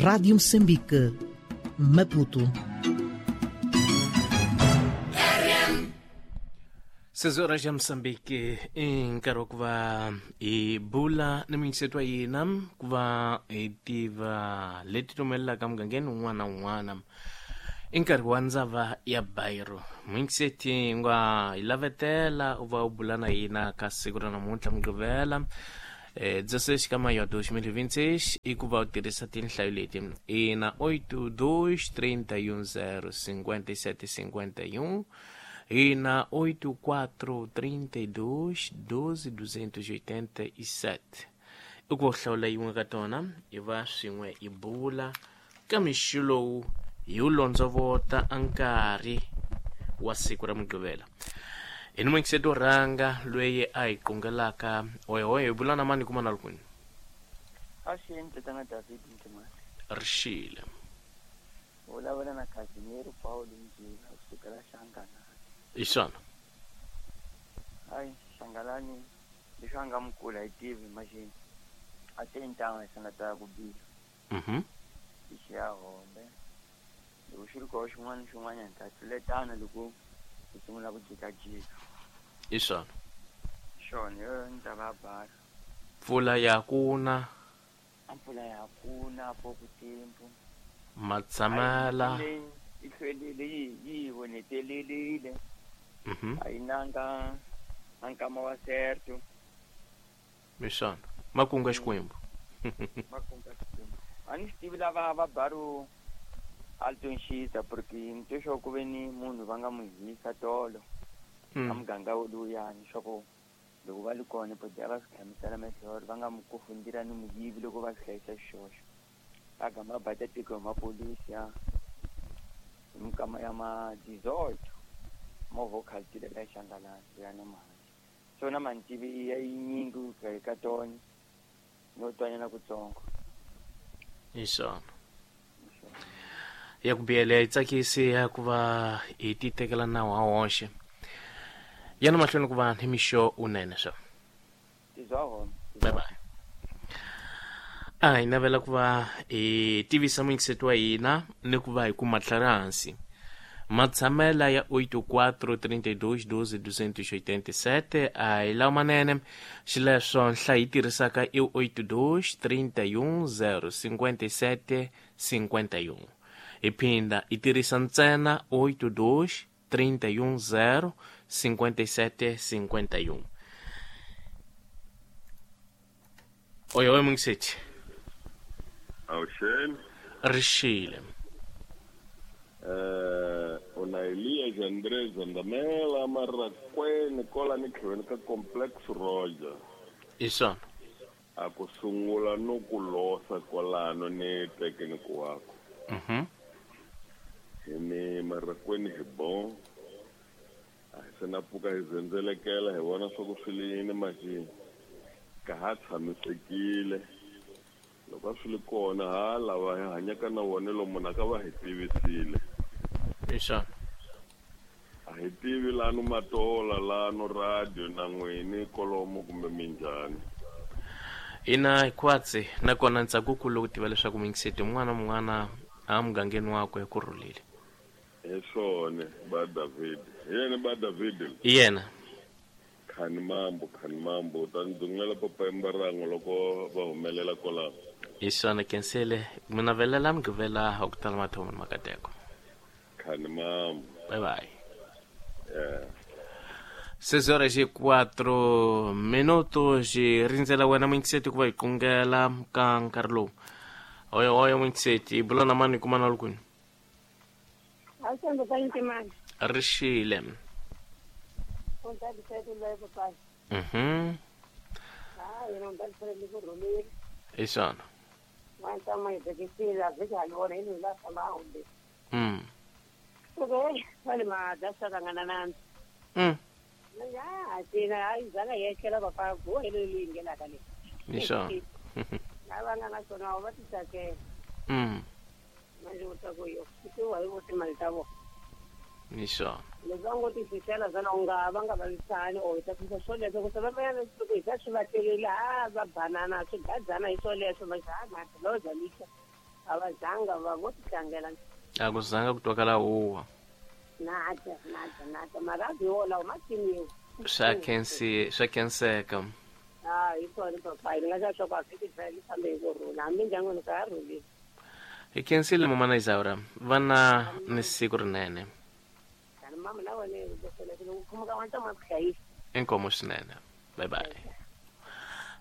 Rádio Moçambique, Maputo. 6 horas ya Mosambiki i nkarhi wa ku va hi bula ni muyingiseti wa hina ku va hi tiva leti tumelelaka mugangeni wun'wana na wun'wana. I nkarhi wa ndzava ya bayiro. Muyingiseti nga hi lavetela u va u bula na hina ka siku ra namuntlha Mugqivela, 16 ka maio 2026, i ku va u tirhisa tinhlayo leti ina: 82 31 0 57 51, ina 84 32 12 287. I ku va u hlawula yin'we ka tona, hi va swin'we hi bula ka mixo lowu hi wu londzovota a nkarhi wa siku ra Mugqivela. Hi ni muyingiseti wo rhanga loyi a hi qungelaka. Oyohoyo, hi bula na mani, kuma na lukwini? Avuxeni, tatana David Ntimani. Rixile. Vulavula na Casimiro Paulo Mjila kusukela Hlanganani. Hi swona. Hayi, Hlangalani leswi a nga mukulu a yi tivi maxini a te ntanga hi sangata ku biha. Xi ya hombe loko xi ri koho xin'wana na xin'wana hi ta tluletana loko hi sungula ku jikajika. Hi swona. Xona yo ni ta va bala. Mpfula ya kuna? A mpfula ya kuna poku timpu. Matshamela. Yi hlwelile, yi vonetelelile. A yi nanga a nkama wa certo. Hi swona, makungu ya Xikwembu. Makungu ya Xikwembu. A ni swi tivi lava va baru Alton Xisa, porque ni twe swa ku ve ni munhu va nga n'wi hisa tolo a muganga woluyani, swa ku loko va li kona bodi a va swi hlamusela mehloro va nga mu kufundira ni muyivi loko va swi hlayisa xixoxo va gama va bata tiko hi mapolisi ya hi mikama ya ma 18 movha wu khaltile la Xangalani ya na mali so na mantivi ya yinyingi ku fika ka tona no twanyana kutsongo. Hi swona, ya ku biyele yi tsakisi ya ku va hi ti tekela nawu ha woxe ya na mahlweni ku va ni mixo unene swa. Tizwa hona. Bye bye. A hi navela ku va hi tivisa muyingiseti wa hina ni ku va hi kuma tlhari hansi matshamela ya 84 32 12 287 a hi lawa manene. Xileswo nhlayo yi tirhisaka i 82 31 0 57 51. Hi phinda hi tirhisa ntsena 82 31 0 57 51. Oyo oyo, muyingiseti. Avuxeni. Rixile. Una Elias Andrés Zandamela Marakweni kola ni tlhelo ka Complex Roger. Hi swona. A ku sungula no ku losa kwalano ni tekeni ku wako. Hi ni Marakweni hi bon. A hi se na pfuka hi zendzelekela hi vona swa ku swi li yini maxini. Ka ha tshamisekile. Loko a swi li kona ha lava hi hanyaka na wona lomu na ka va hi tivisile. Hi swona. A hi tivi lano matola lano radio na n'wini kolomo kumbe minjhani. Ina, hikwatsi nakona ntsakukulu ku tiva leswaku muyingiseti un'wana na un'wana a mugangeni wakwe ku rhulile. Hi swona ba David, hi yena ba David. Hi yena. Khani mambo, khani mambo, ta ni dzungulela papa mbarango loko va humelela kwalaho. Hi swona, kensele mi navelela Mugqivela wa ku tala mathomo ni makateko. Khani mambo. Bye bye. Yeah. 6 horas e 4 minutos, hi rindzela wena muyingiseti ku va hi qungela ka nkarhi lowu. Oyo oyo, muyingiseti, hi bula na mani, kuma na lukwini? Awuthemba pa Ntimani. Rixile. Untalisele loyi papai. Hayi, yena untalisele ku rhumile. Hi swona. N'wana ma hi tekisile a vhiki hali vona yini la famba a humbe. Okay, vale ma dasa ka ngana nandzu. Ya, tina hayi zanga yekela papa go hele leyi ngenaka le. Hi swona. Lava nga na swona va ti tsakela. Manje u ta ku yo ku wa hi vo timali ta vona. Hi swona. Leswi va ngo ti fihlela zana u nga va nga vavisani or hi ta fisa swoleswo ku se va va loko hi ta swi va telele a va banana swi gadzana hi swoleswo manje a madiloza lixa. A va zanga va vo titlangela. A ku zanga ku twakala huwa. Nada, nada, nada. Maravi wolawo ma timiwa. Swa khensi, swa khenseka. Ah, hi swona papayi ni nga xa swa ku a vhiki yi fambe hi kurhula hambi ndyangwini ka ha rhulile. Hi khensile mamana Isaura, vana ni siku rinene. Kani mama na wena loko khumuka wa ntama ku hlayisa. Inkomu swinene. Bye bye.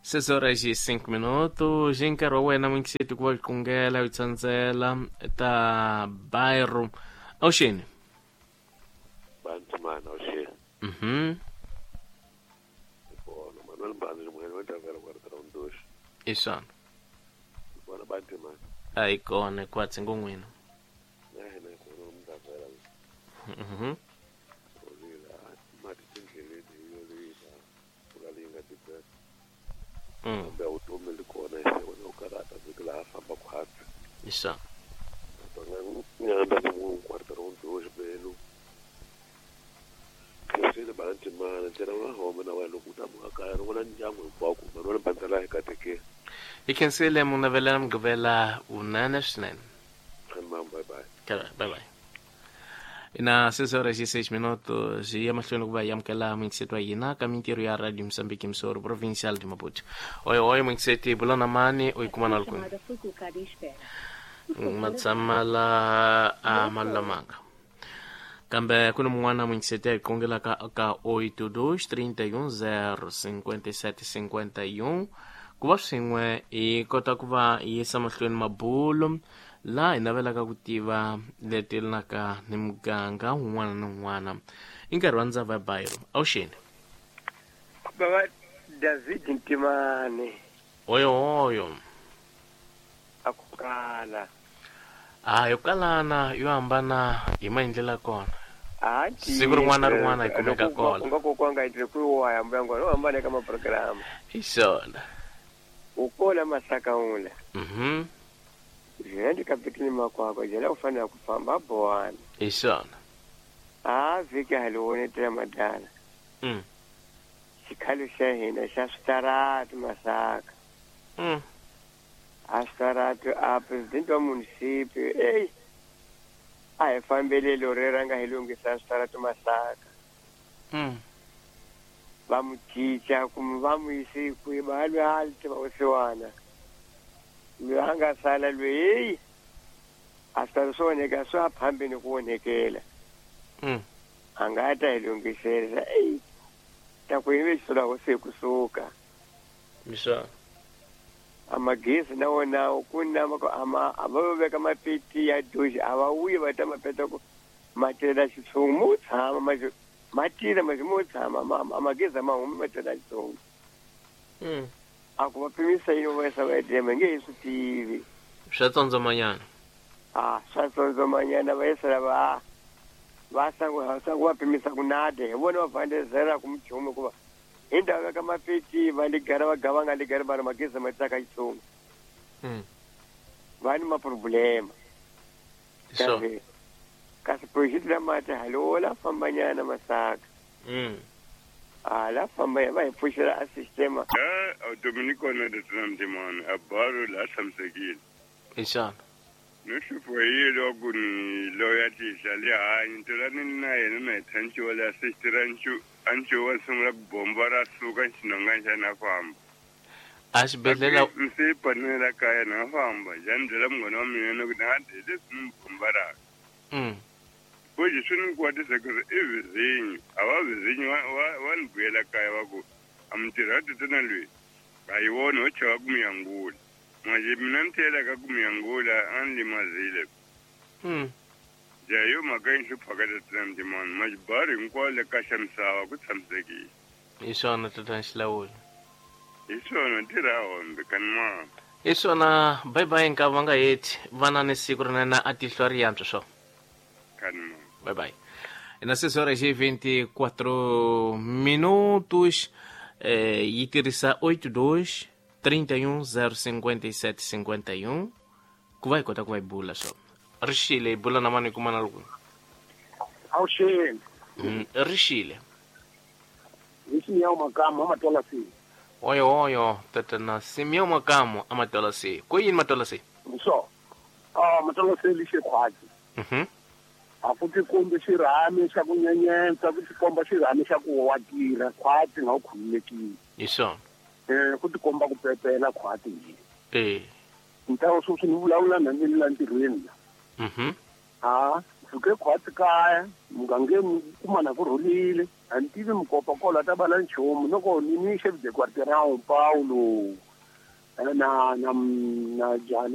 6 horas e 5 minutos. Hi nkarhi wa wena n'wingiseti ku va qungela u tsandzela ta bairro. Awuxeni. Bantumana awuxeni. Bona Manuel Mbani munghana wa Davela kwa Rondosha. Isana. Bona Bantumana. Ayi kona kwatsi ngon'wina. Na hina kona umdavela. Olila mati tindleleni yo leyi ukalinga tibet. Kambe vutomi li kona se wena u karhata vhiki laha famba ku hatla. Isana. Nyanda ni munhu quarter Rondosha belu. Khensile Bantumana ntsena wa home na wena loko u ta muka kaya ri vona ndyangu hinkwako Manuel Bandzela hi katekeni. Hi khensile munavela mugqivela wunene swinene. Bye bye. Bye bye. Ina 6 horas e 6 minutos hi ya mahlweni ku va hi amukela muyingiseti wa hina ka mintirho ya Radio Moçambique Msoro Provincial de Maputo. Oi oi muyingiseti bula na mani u yi kuma na le kwini. Ma la a malulamanga. Kambe ku ni mun'wana muyingiseti a hi qongelaka ka 82 31 0 57 51 ku va swin'we hi kota ku va hi yisa mahlweni mabulo laha hi navelaka ku tiva leti yelanaka ni muganga wun'wana ni wun'wana. I nkarhi wa ndzava ya bairro. Awuxeni. Baba David Ntimane. Oyo oyo. A ku kala. A yo kalana yo hambana hi maendlelo ya kona. Siku rin'wana na rin'wana hi kumeka kona. U nga kokwanga hi ku waya mbuyango no hambana eka maprograma. Hi swona. U kola masaka ula. Jela kapitini makwakwa jela u fanele ku famba bowana. Hi swona. A vhiki haliwone tela madala. Xikhalo xa hina xa switarati masaka. A switarati a president wa munisipi ey a hi fambelelo rera nga hi lunghisa switarati masaka. Va mu cinca kumbe va mu yisi kwihi va lwi a li tiva vusiwana. Loyi a nga sala loyi a swi ta swi onheka swi a phambeni ku onhekela. A nga ta hi lunghisela eyi ta ku yive xisula hosi hi kusuka. Miswa. A magezi na wona ku na ama a va veka mapeti ya doji a va wuyi va ta mapeta ku ma tirhela xitshungu mo tshama ma tirha ma mo tshama a magezi ma humi ma tirhela xitshungu. A ku va pimisa yini va yisa va edema nge hi swi tivi. Swa tsondzomanyana. A swa tsondzomanyana va yisa lava va sangu va pimisa ku nade hi vona va vandezela ku muchumu hikuva hi ndhawu ya ka mapeti va ligara va gava nga ligari va ri magezi ma tsaka xitshungu. Va ni maproblema. Kasi project la mati halo la fambanyana masaka. A la famba va hi pfuxela a sistema. Dominico na Detinamtimana a baro la tshamisekile. Isana. No hlupho hi loko ni loya tihla le hanyi ntirhani na yena na hi thanchiwa le asistira ancho wa sungula ku bomba ra suka xinonga xa na famba. A xibedhlele ndzi panela kaya na famba njhani byela munghana wa mina na ku na leswi ni bomba ra. Koji swi ni kwatisa ku ri i vizinyo a va vizinyo wa ni vuyela kaya va ku a mintirho ya tatana loyi a yi vona ho chava ku miyangula manje mina ni tlhela ka ku miyangula a ni limazile. Ja yo mhaka yi hluphaka tatana Ntimani majibari hinkwawo le ka xa misava ku tshamisekile. Hi swona tatana Xilawula. Hi swona ntirho hombe kani mama. Hi swona bye bye nka va nga heti vana ni siku rinene a tihlo ri yantswa swo. Kani mama. Bye bye. Na 6 horas e 24 minutos, yi tirhisa 82 31 057 51 ku va hi kota ku va hi bula swo. Rixile hi bula na mani hi kuma na loko. Awuxeni. Rixile. Hi Simeon Makamu amatola si. Oyo oyo tatana Simeon Makamu amatola si. Ku yini matola si? So. A Matolasele xikhwatsi. A ku tikombi xirhami xa ku nyenyetsa, ku tikomba xirhami xa ku wa tirha khwatsi nga u khululekile. Hi swona. Ku tikomba ku pepela khwatsi hi. Eh. Ntawo sweswi ni vulavula na ni la ntirhweni la. Ha, pfuke khwatsi kaya, mugangeni kuma na ku rhulile. A ni tivi mukopa kola ta bala nchumu loko ni ni chef de quartier Paulo na na na jali.